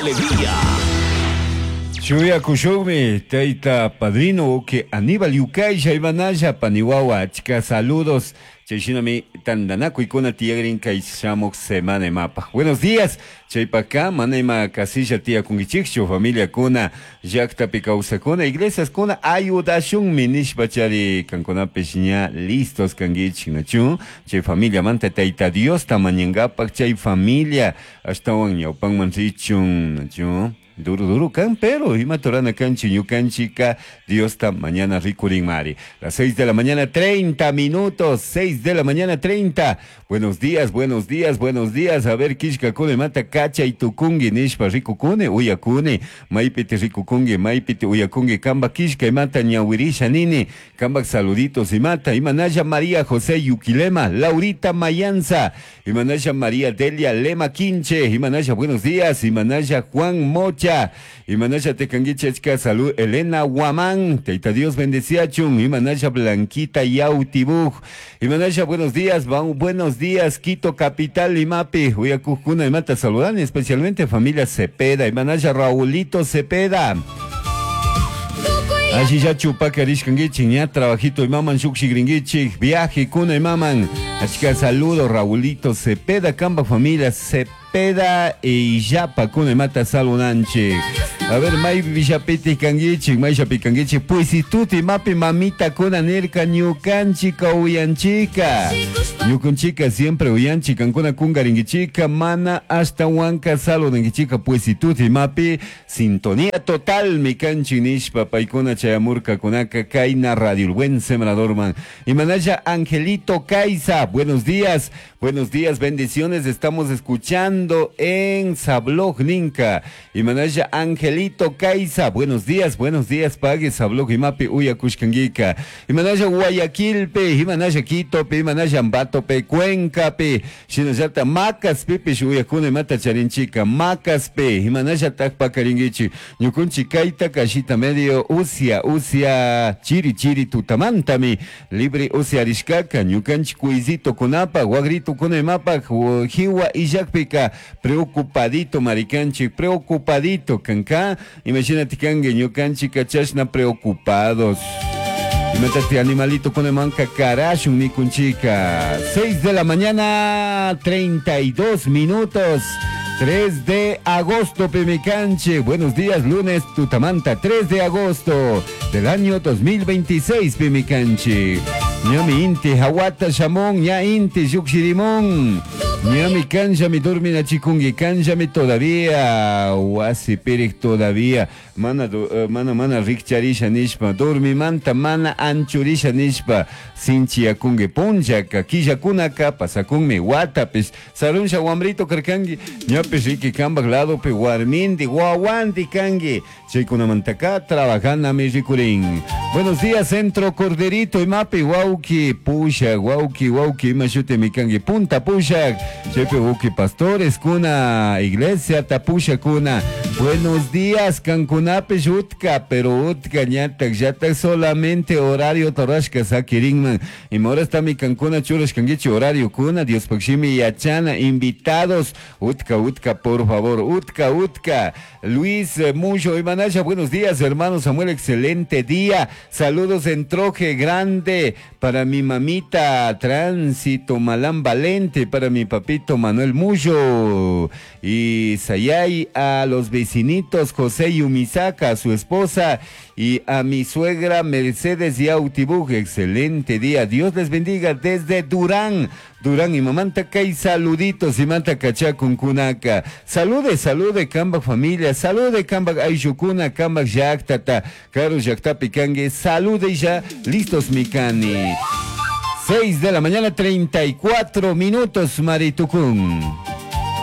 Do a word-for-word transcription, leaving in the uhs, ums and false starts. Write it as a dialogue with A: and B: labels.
A: Alegría.
B: Shuyakushunmi tayta padrino uke Aníbal Yucaisha imanalla paniwawa achka saludos chayshinami tantanakuykuna tiyakrin kay shamuq semana imapaq. Buenos días, chaypaka mana ima kasilla tiyakunkichikchu familiakuna llaqtapi kawsakuna iglesiaskuna ayudashunmi nishpa chari kankunapish ña listos kankichik nachu chay familiamanta tayta Diosta mañankapak chay familia ashtawan ñawpanman richun nachu. Duro, duro kan, pero imatorana kanchi ñukanchika Diosta mañana rikurinmari. Las seis de la mañana, treinta minutos, seis de la mañana, treinta. Buenos días, buenos días, buenos días. A ver, kishka kune mata kacha y tukungi nishpa rikukune, uyakune, maypiti rikukungi, maypiti uyakungi, kamba kishka imata ñawirisha nini, kamba saluditos imata, imanaya María José Yuquilema, Laurita Mayanza, imanaya María Delia Lema Quinche, imanaya buenos días, imanaya Juan Mocha, imanaya tekanguichechka, salud Elena Guamán, teita Dios bendeciachun, imanaya Blanquita Yautibuj, imanaya buenos días, buenos días, Quito Capital, Imapi, uyakujkuna imata saludan, especialmente familia Cepeda, imanaya Raulito Cepeda. Allí ya chupaca rishkanguichik, ña trabajito imaman shukshigringuichik, viaje kuna imaman. Achka saludo Raulito Cepeda, kamba familia Cepeda e Yapa kuna imata salunanchik. A ver, may villapiti kanguichik, may shapikanguichik, puisituti mapi mamita kuna nirka ñukanchika uyanchika. Ñukanchika siempre uyanchika, ancuna kungaringuichika, mana hasta huanca salunanguichika, puisituti mapi, sintonía total mi kanchi nishpa, paikuna chayamurka kunaka kaina radio, el buen sembrador man. Y manaya Angelito Caiza, buenos días, buenos días, bendiciones, estamos escuchando en Sablog Ninka. Y manaya Angelito Caiza, buenos días, buenos días, pague Sablog y mapi uyakushkanguika. Y manaya Guayaquilpe, y manaya Quitope, y manaya Ambatope, Cuencape, shinallata Macaspe, uyakuna mata charinchica, Macaspe, y manaya Takpakaringuichi, ñukunchi kaita kashita medio usia, usia, chiri chiri tutamantami, libre usia arishkaka, ñukanchi kuizito kunapa, guagrito kunemapa, jiwa illakpika, preocupadito maricanchi, preocupadito kanka, imagínate kangue ñukanchi kachashna preocupados. Imagínate animalito con manca carashun nikunchika. seis de la mañana, treinta y dos minutos. tres de agosto, Pimicanche. Buenos días, lunes, Tutamanta, tres de agosto del año dos mil veintiséis, Pimicanche. Ñami inti, hawata shamón, ña inti, yukshirimón. Ñami kanjami durmina chikungi, kanjami todavía, wasi pirik todavía. Mana, uh, mana, mana rikcharisha nishpa, dormimanta mana anchurisha nishpa, sinchiakungi punchaka, killakunaka, pasakunmi watapis, sarunsha wambrito karkangi, ñapis riki kambak ladopi warmindi, wawandi kangi, chaykunamantaka trabajanami rikurin. Buenos días, Centro Corderito, imapi, wauki, pusha, wauki, wauki, imashute mikangi, punta pusha, chaypi wauki pastores, kuna, iglesia, tapusha kuna. Buenos días, kankunapish utka, pero utka ñatak, yatak solamente horario torashka sakirinman. Y ahora está mi kankuna churash kangichi horario kuna, Dios pakshimi yachana, invitados, utka, utka, por favor, utka, utka. Luis Mucho y Manasha, buenos días, hermano Samuel, excelente día. Saludos en Troje Grande para mi mamita Tránsito Malán Valente, para mi papito Manuel Muyo y Sayay, a los vecinitos José Yumisaka, a su esposa y a mi suegra Mercedes Yautibuj. Excelente día, Dios les bendiga desde Durán. Durán y mamanta kay saluditos y manta kachakun kunaka. Salude, salude kamba familia, salude kamba ayshukuna, kamba llaktata, karu llaktapi kangue, salude ya, listos mikani. seis de la mañana, treinta y cuatro minutos, Maritukun.